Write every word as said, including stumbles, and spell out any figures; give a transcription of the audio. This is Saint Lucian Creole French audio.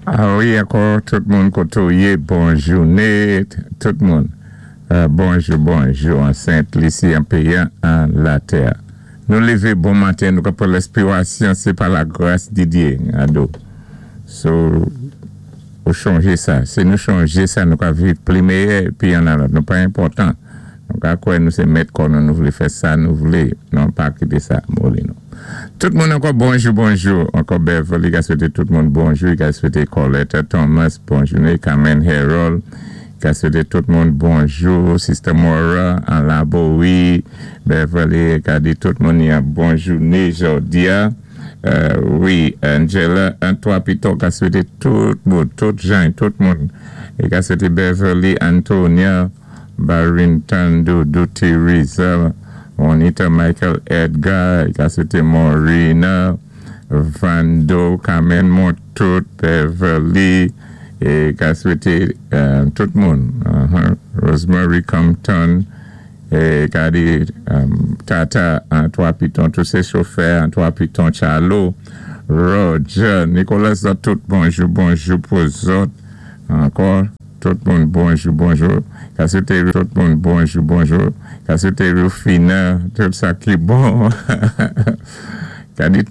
Ah wi, ankò tout moun koté ou yé, bon jouné, tout moun. Euh, bonjou, bonjou, an Sent-Lisi, an péyi an latè. Nou lévé bon maten, nou ka pran lenspirasyon, sé pa la gras di Dye, ado. So, ou chanjé sa. Si nou chanjé sa, nou ka viv pli meyè, pi an alòt. Nou pa enpòtan. Nou ka kwè nou sé mèt kò nou, nou vlé fè sa, nou vlé. Non, pa kité sa, moli nou. Tout moun ankò bonjou, bonjou. Ankò Beverly, ka swété tout moun bonjou. Ka swété Colette Thomas, bonjou. Carmen Harold, ka swété tout moun bonjou. Sister Maura, an Laborie, Beverly, ka di tout moun yon bonjou jòdi a. Euh, wi, Angela, an Piton, ka swété tout moun, tout jan, tout moun. É ka swété Beverly, Antonia, Barrington, Doudou, Teresa, Juanita, Michael, Edgar, ka swété Maureen, Vando, Carmen Montout, Beverly, é ka swété euh, tout moun. Uh-huh. Rosemary Compton, é ka di um, Tata, Antoine Piton, tous sé chofè, Antoine Piton, Charlot, Roger, Nicolas, tout bonjou, bonjou pou zòt. Ankò, tout moun bonjou, bonjou. Ka swété tout moun bonjou, bonjou. Ka swété Rufina, tout sa ki bon. Ka di